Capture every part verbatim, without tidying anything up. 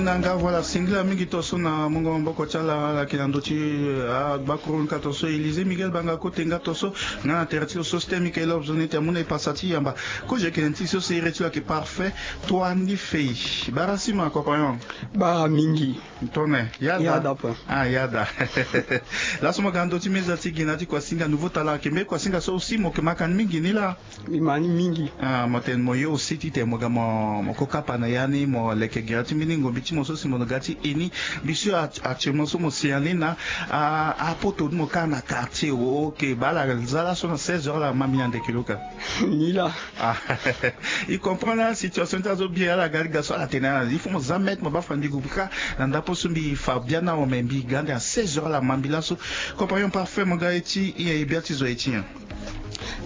Nga, voilà, singila mingi tonso na mungo maboko ti ala ala yeke na ndö ti, eh, agbakuru ni ka tonso, Élisée Miguel Banga Kote nga tonso. Nga na tere ti lo so système Michael Lobs ni te amu na e pasa ti yamba. Kozo yeke na ti so si iri ti lo ayeke Parfait Toa Ni Fei. Bara sima, compagnon. Bara mingi. Tone yada. Yada pa. Ah, yada. Laso mo ga na ndö ti meza ti gi na ti kuasinga, nouveau talent ayeke mbeni kuasinga so aussi mo yeke ma ka ni mingi ni laa. Mbi ma ni mingi. Ah, mo tene mo ye aussi titene mo ga mo, mo ko kapa na ya ni, mo leke gere ti mbeni ngombi ti mo so si mo ga ti e ni. Mbi sûr actuellement so mo si ya ni na, ah, apoto ti mo kâ na quartier. Ok, baa ala za laso na seize heures ala ma mbi na ndeke lo ka. Ni laa. Ah, i comprend na situation ti azo bien, ala ga liga so ala tene ala, il faut mo za mètre mo baa fa mbi gue kâ na ndapo so mbi fa biani awe, me mbi ga ande na seize heures ala ma mbi laso. Compagnon Parfait, mo ga ye ti, i ye bia ti zo ye ti nyen?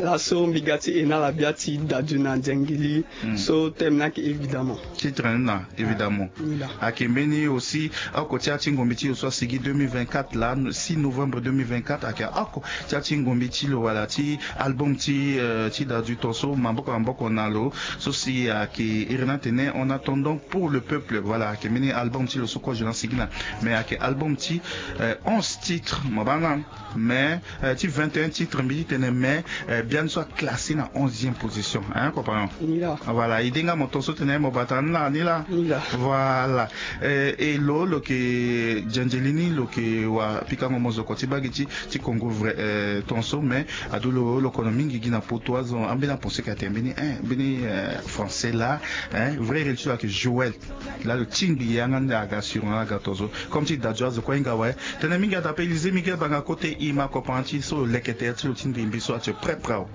Laso mbi ga ti e na ala bia ti Dadju na Nzengili. Hmm. So thème ni ayeke Évidemment. Titre ni na Évidemment. Ayeke mbeni aussi oko ti ya ti ngombi ti lo so asigi deux mille vingt-quatre laa, six novembre deux mille vingt-quatre, ayeke oko ti ya ti ngombi ti lo wala ti album ti, euh, ti Dadju tonso, maboko na maboko na lo, so si ayeke iri ni atene En attendant pour le peuple. Voilà, ayeke mbeni album ti lo so kozo ni asigi na, mais ayeke album ti, euh, onze titres, mo baa na. Mais, euh, ti vingt et un titres mbi ti tene, mais, euh, biani so aclassé na onzième position, hein, compagnon? Ni laa. Voilà, ide nga mo tonso tene mo bata ni laa, ni laa. Ni laa. Voilà. Euh, e lo, lo yeke Nzengili ni, lo yeke wa pikango mozoko ti bagi ti, ti Congo vrai, euh, tonso, mais ado lo, lo kono mingi gi na poto, azo ambeni apense ka tene mbeni, hein, mbeni, euh, français laa, hein, vrai iri ti lo ayeke Joël. Laa lo tingbi yanga ni aga sur nga aga tonso. Comme ti Dadju azo kue ahinga awe. Tene mingi ada ape Élisée Miguel Banga Kote, i ma compagnon ti so lo leke tere ti lo ti ndimbi so, ati prêt prêt awe.